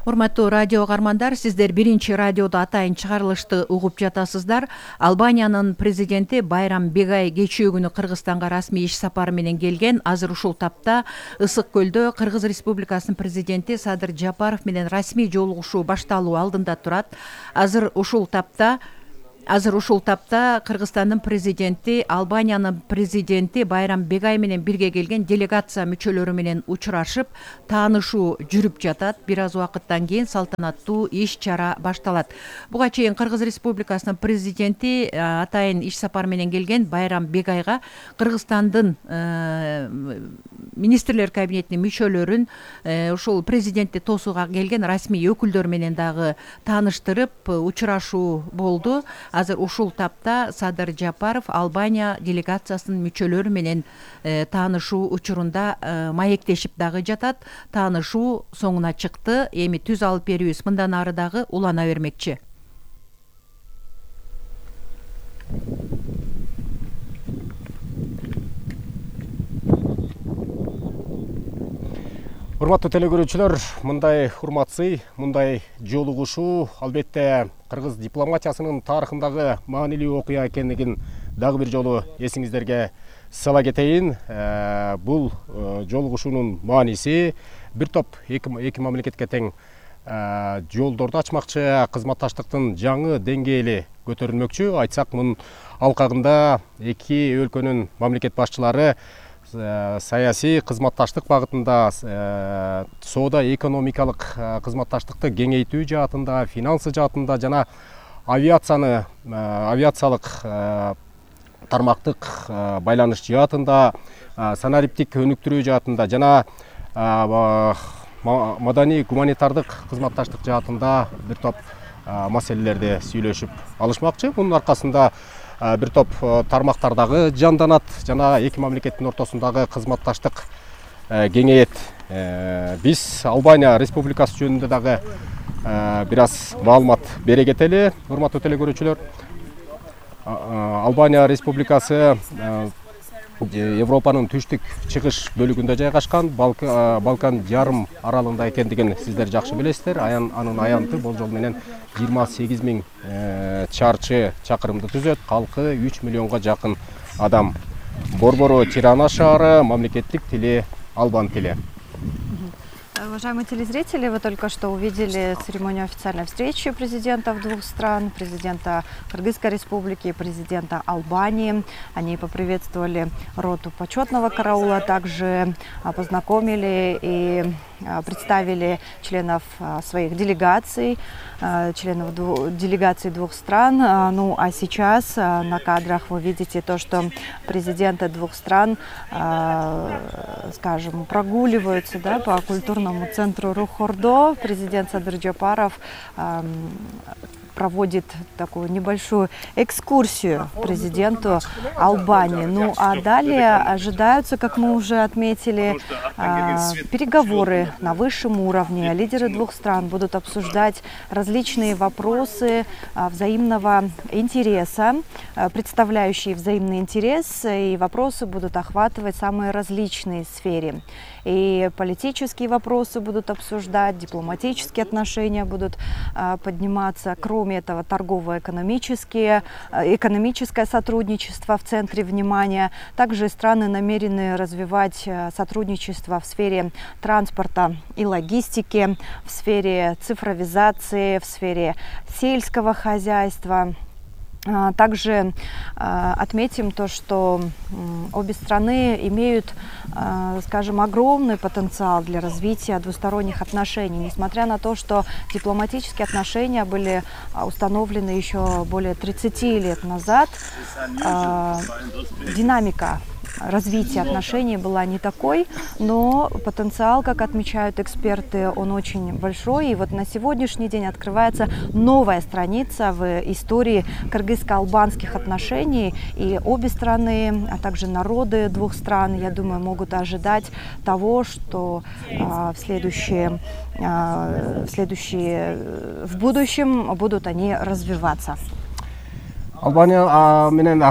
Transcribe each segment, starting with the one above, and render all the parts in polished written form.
Урматтуу радио каармандар, сиздер биринчи радиодо атайын чыгарылышты угуп жатасыздар. Албаниянын президенти Байрам Бегай кечээ күнү Кыргызстанга расмий иш сапары менен келген. Азыр ушул тапта Ысык көлдө Кыргыз Республикасынын президенти Садыр Жапаров менен расмий жолугушуу башталуу алдында турат. Азыр ушул тапта Кыргызстандын президенти Албаниянын президенти Байрам Бегай менен бирге келген делегация мүчөлөрү менен учурашып, таанышуу жүрүп жатат. Бир аз убакыттан кийин салтанаттуу иш-чара башталат. Буга чейин Кыргыз Республикасынын президенти атайын иш сапар менен келген Байрам Бегайга Кыргызстандын министрлер кабинетинин мүчөлөрүн ушул президентти тосууга келген расмий өкүлдөр менен дагы тааныштырып, учурашуу болду. Азыр ушул тапта Садыр Жапаров Албания делегациясынын мүчөлөрү менен таанышуу учурунда маектешип дагы жатат. Таанышуу соңуна чыкты. Эми түз алып берүүбүз мындан ары дагы улана бермекчи. Урматтуу телекөрүүчүлөр, мындай урматсый, мындай жолугушуу албетте кыргыз дипломатиясынын тарыхындагы маанилүү окуя экендигин дагы бир жолу эсиңиздерге сала кетейин. Бул жолугушуунун мааниси бир топ эки мамлекетке тең жолдорду ачмакчы, кызматташтыктын жаңы деңгээли көтөрүлмөкчү. Айтсак, мунун алкагында эки өлкөнүн мамлекет башчылары саясий кызматташтык багытында, соода экономикалык кызматташтыкты кеңейтүү жаатында, финансы жаатында жана авиациялык тармактык байланыш жаатында, санариптик өнүктүрүү жаатында жана маданий гуманитардык кызматташтык жаатында бир топ маселелерди сүйлөшүп алышмакчы. Мунун аркасында бир топ тармактардагы жанданат жана эки мамлекеттин ортосундагы кызматташтык кеңейет. Биз Албания Республикасы жөнүндө дагы бир аз маалымат бере кетели. Урматтуу телекөрүүчүлөр, Албания Республикасы Европанын түштүк чыгыш бөлүгүндө жайгашкан, Балкан жарым аралында экендигин сиздер жакшы билесиздер. Анын аянты болжол менен 28.000 чарчы чакырымды түзөт. Калкы 3 миллионго жакын адам. Борбору Тирана шаары, мамлекеттик тили албан тили. Уважаемые телезрители, вы только что увидели церемонию официальной встречи президентов двух стран, президента Кыргызской республики и президента Албании. Они поприветствовали роту почетного караула, также познакомили и представили членов своих делегаций, членов делегаций двух стран. Ну а сейчас на кадрах вы видите то, что президенты двух стран, скажем, прогуливаются, да, по культурному центру Рухордо. Президент Садыр Жапаров проводит такую небольшую экскурсию президенту Албании. Ну а далее ожидаются, как мы уже отметили, переговоры на высшем уровне. Лидеры двух стран будут обсуждать различные вопросы взаимного интереса, представляющие взаимный интерес, и вопросы будут охватывать самые различные сферы. И политические вопросы будут обсуждать, дипломатические отношения будут подниматься. Кроме этого, торгово-экономическое сотрудничество в центре внимания. Также страны намерены развивать сотрудничество в сфере транспорта и логистики, в сфере цифровизации, в сфере сельского хозяйства. Также отметим то, что обе страны имеют, скажем, огромный потенциал для развития двусторонних отношений. Несмотря на то, что дипломатические отношения были установлены еще более 30 лет назад, динамика развития отношений была не такой, но потенциал, как отмечают эксперты, он очень большой. И вот на сегодняшний день открывается новая страница в истории кыргызско-албанских отношений. И обе страны, а также народы двух стран, я думаю, могут ожидать того, что в будущем будут они развиваться. Албания менен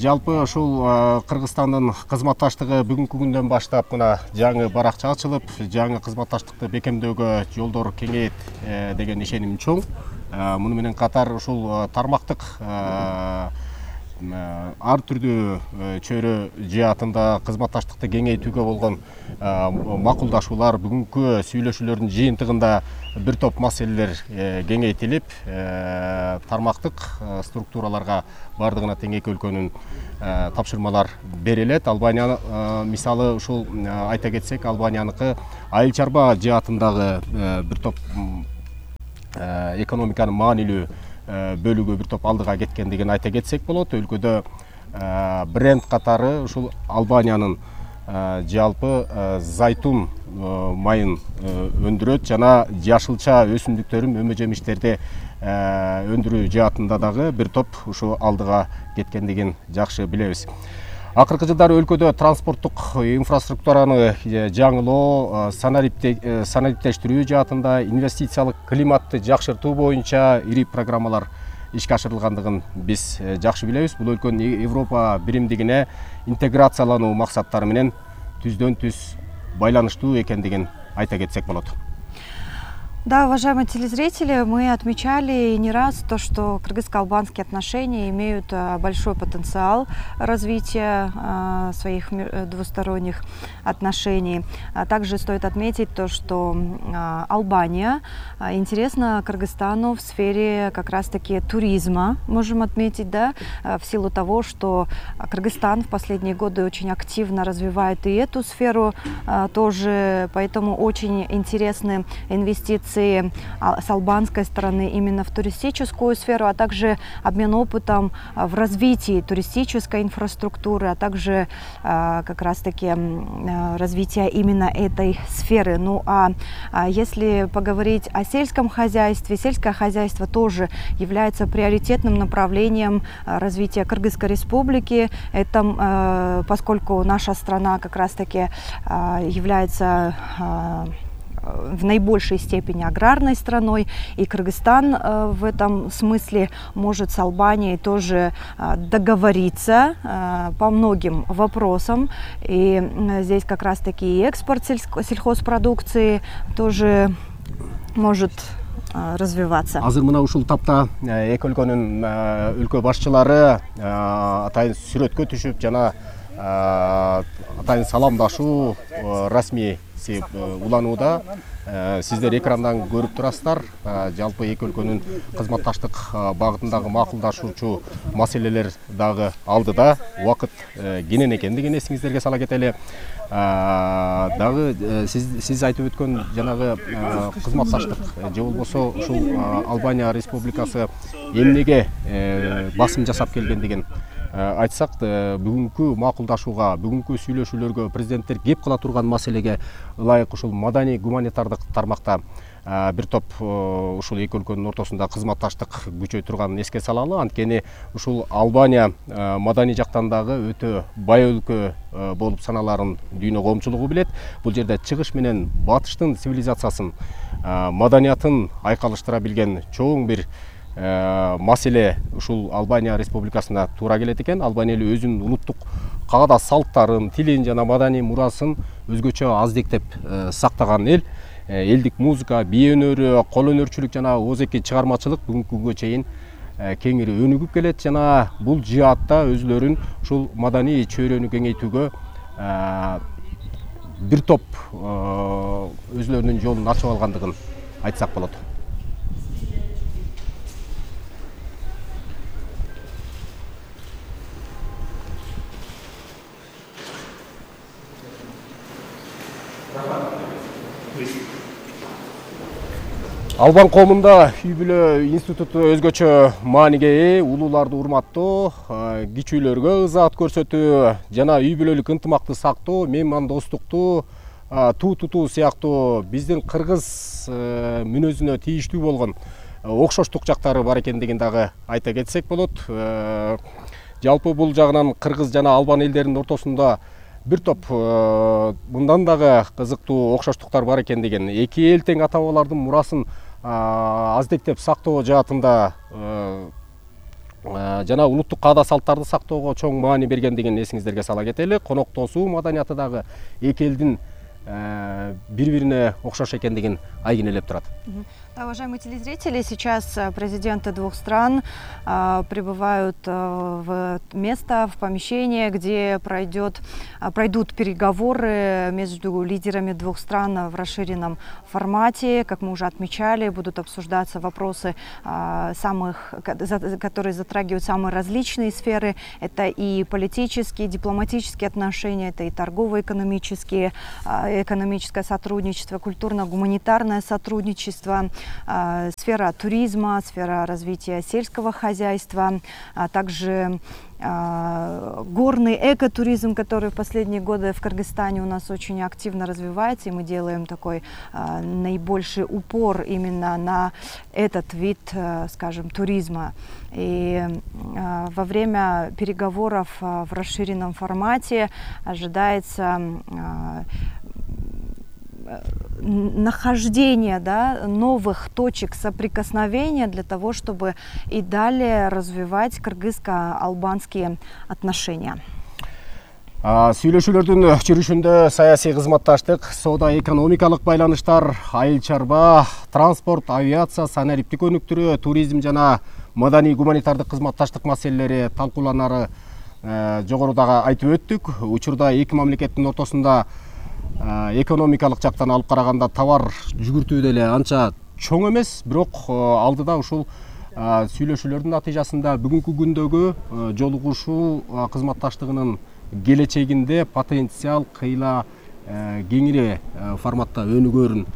жалпы ушул Кыргызстандын кызматташтыгы бүгүнкү күндөн баштап мына жаңы баракча ачылып, жаңы кызматташтыкты бекемдөөгө жолдор кеңейет деген ишеним чоң. Муну менен катар ушул тармактык ар түрдүү чөйрө жаатында кызматташтыкты кеңейтүүгө болгон макулдашуулар бүгүнкү сүйлөшүүлөрдүн жыйынтыгында бир топ маселелер кеңейтилип, тармактык структураларга бардыгына тең эки өлкөнүн тапшырмалар берилет. Албания мисалы ушул айта кетсек, Албанияныкы айыл чарба жаатындагы бир топ экономиканын маанилүү бөлүгү бир топ алдыга кеткендигин айта кетсек болот. Өлкөдө бренд катары ушул Албаниянын жалпы зайтун майын өндүрөт жана жашылча өсүмдүктөрүн, өмө жемиштерди өндүрүү жаатында дагы бир топ ушул алдыга кеткендигин жакшы билебиз. Акыркы жылдары өлкөдө транспорттук инфраструктураны жаңылоо, санариптештирүү жаатында, инвестициялык климатты жакшыртуу боюнча ири программалар ишке ашырылгандыгын биз жакшы билебиз. Бул өлкөнүн Европа биримдигине интеграциялануу максаттары менен түздөн түз байланыштуу экендигин айта кетсек болот. Да, уважаемые телезрители, мы отмечали не раз то, что кыргызско-албанские отношения имеют большой потенциал развития своих двусторонних отношений. Также стоит отметить то, что Албания интересна Кыргызстану в сфере как раз-таки туризма, можем отметить, да, в силу того, что Кыргызстан в последние годы очень активно развивает и эту сферу тоже, поэтому очень интересны инвестиции с албанской стороны именно в туристическую сферу, а также обмен опытом в развитии туристической инфраструктуры, а также как раз-таки развитие именно этой сферы. Ну а если поговорить о сельском хозяйстве, сельское хозяйство тоже является приоритетным направлением развития Кыргызской республики. Это поскольку наша страна как раз-таки является в наибольшей степени аграрной страной, и Кыргызстан в этом смысле может с Албанией тоже договориться по многим вопросам. И здесь как раз-таки и экспорт сельхозпродукции тоже может развиваться. Азыр мына ушул тапта эки өлкөнүн өлкө башчылары атайын сүрөткө түшүп жана атайын саламдашуу расмий уланууда. Сиздер экрандан көрүп турасыздар. Жалпы эки өлкөнүн кызматташтык багытындагы макулдашуучу маселелер дагы алдыда. Убакыт кенен экендигин эсиңиздерге сала кетели. Дагы сиз айтып өткөн жанагы кызматташтык же болбосо ушул Албания республикасы эмнеге басым жасап келгендигин айтсак, бүгүнкү макулдашууга, бүгүнкү сүйлөшүүлөргө президенттер кеп кыла турган маселеге ылайык ушул маданий гуманитардык тармакта бир топ ушул эки өлкөнүн ортосунда кызматташтык күчөй турганын эске салалы. Анткени ушул Албания маданий жактан дагы өтө бай өлкө болуп саналарын дүйнө коомчулугу билет. Бул жерде чыгыш менен батыштын цивилизациясын, маданиятын айкалыштыра билген чоң бир маселе ушул Албания республикасына туура келет экен. Албания эле өзүнүн улуттук каада салттарын, тилин жана маданий мурасын өзгөчө аздектеп сактаган эл. Элдик музыка, бие өнөрү, кол өнөрчүлүк жана оозеки чыгармачылык бүгүнкү күнгө чейин кеңири өнүгүп келет жана бул жаатта өзүлөрүн ушул маданий чөйрөнү кеңейтүүгө бир топ өзүлөрүнүн жолун ачып алгандыгын айтсак болот. Албан коомунда үй бүлө институту өзгөчө мааниге ээ, улууларды урматтоо, кичүүлөргө ызаат көрсөтүү жана үй бүлөлүк ынтымакты сактоо, меймандостукту туу тутуу сыяктуу биздин кыргыз мүнөзүнө тийиштүү болгон окшоштук жактары бар экендигин дагы айта кетсек болот. Жалпы бул жагынан кыргыз жана албан элдеринин ортосунда бир топ мындан дагы кызыктуу окшоштуктар бар экендигин, эки эл тең ата-бабалардын мурасын аздектеп сактоо жаатында жана улуттук каада салттарды сактоого чоң маани бергендигин эсиңиздерге сала кетели. Коноктосуу маданияты дагы эки элдин бири-бирине окшош экендигин айгинелеп турат. Да, уважаемые телезрители, сейчас президенты двух стран прибывают в место, в помещение, где пройдут переговоры между лидерами двух стран в расширенном формате. Как мы уже отмечали, будут обсуждаться вопросы, которые затрагивают самые различные сферы. Это и политические, и дипломатические отношения, это и торгово-экономическое сотрудничество, культурно-гуманитарное сотрудничество, сфера туризма, сфера развития сельского хозяйства, а также горный экотуризм, который в последние годы в Кыргызстане у нас очень активно развивается, и мы делаем такой наибольший упор именно на этот вид, скажем, туризма. И во время переговоров в расширенном формате ожидается нахождение, новых точек соприкосновения для того, чтобы и далее развивать кыргызско-албанские отношения. Сүйлөшүүлөрдүн жүрүшүндө саясий кызматташтык, соода-экономикалык байланыштар, айыл чарба, транспорт, авиация, санариптик өнүктүрүү, туризм жана маданий гуманитардык кызматташтык маселелери талкууланары жогорудагы айтып өттүк. Учурда эки мамлекеттин ортосунда экономикалык жактан алып караганда товар жүгүртүү деле анча чоң эмес, бирок алдыда ушул сүйлөшүүлөрдүн натыйжасында бүгүнкү күндөгү жолугушуу кызматташтыгынын келечегинде потенциал кыйла кеңири форматта өнүгөрүн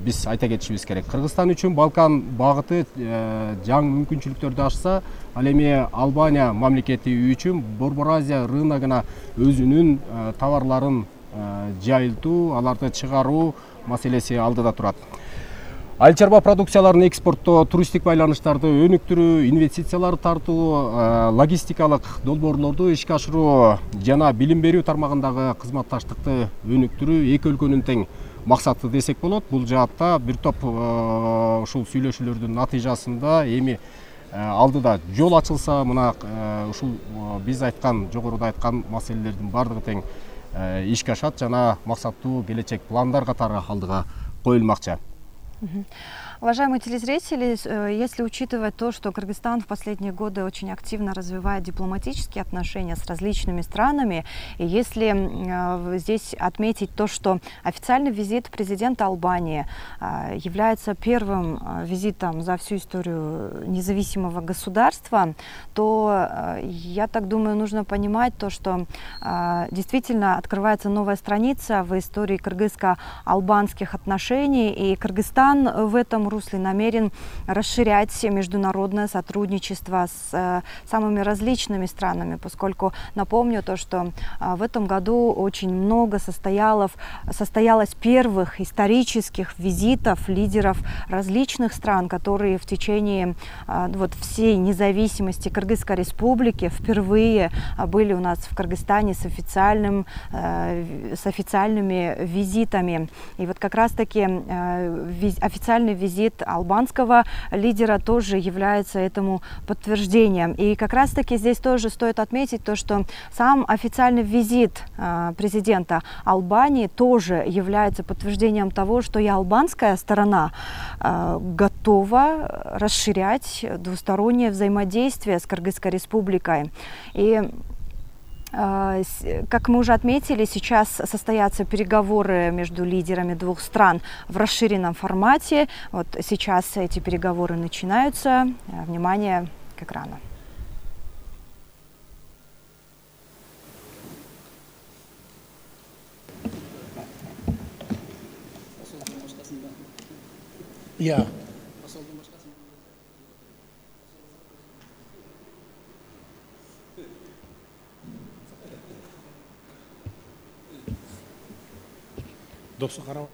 биз айта кетишибиз керек. Кыргызстан үчүн Балкан багыты жаңы мүмкүнчүлүктөрдү ачса, ал эми Албания мамлекети үчүн Борбор Азия рыногуна өзүнүн товарларын жайылтуу, аларды чыгаруу маселеси алдыда турат. Айыл чарба продукцияларын экспорттоо, туристтик байланыштарды өнүктүрүү, инвестицияларды тартуу, логистикалык долбоорлорду ишке ашыруу жана билим берүү тармагындагы кызматташтыкты өнүктүрүү эки өлкөнүн тең максаты десек болот. Бул жаатта бир топ ушул сүйлөшүүлөрдүн натыйжасында эми алдыда жол ачылса, мына ушул биз айткан, жогоруда айткан маселелердин бардыгы тең ишке ашат жана максаттуу келечек пландар катары алдыга коюлмакчы. Уважаемые телезрители, если учитывать то, что Кыргызстан в последние годы очень активно развивает дипломатические отношения с различными странами, и если здесь отметить то, что официальный визит президента Албании является первым визитом за всю историю независимого государства, то, я так думаю, нужно понимать то, что действительно открывается новая страница в истории кыргызско-албанских отношений, и Кыргызстан в этом русле намерен расширять международное сотрудничество с самыми различными странами, поскольку напомню то, что в этом году очень много состоялось первых исторических визитов лидеров различных стран, которые в течение всей независимости Кыргызской республики впервые были у нас в Кыргызстане с официальными визитами. И вот как раз-таки официальный визит албанского лидера тоже является этому подтверждением. И как раз-таки здесь тоже стоит отметить то, что сам официальный визит президента Албании тоже является подтверждением того, что и албанская сторона готова расширять двустороннее взаимодействие с Кыргызской республикой. И как мы уже отметили, сейчас состоятся переговоры между лидерами двух стран в расширенном формате. Вот сейчас эти переговоры начинаются. Внимание к экрану. Я. Досу қарау.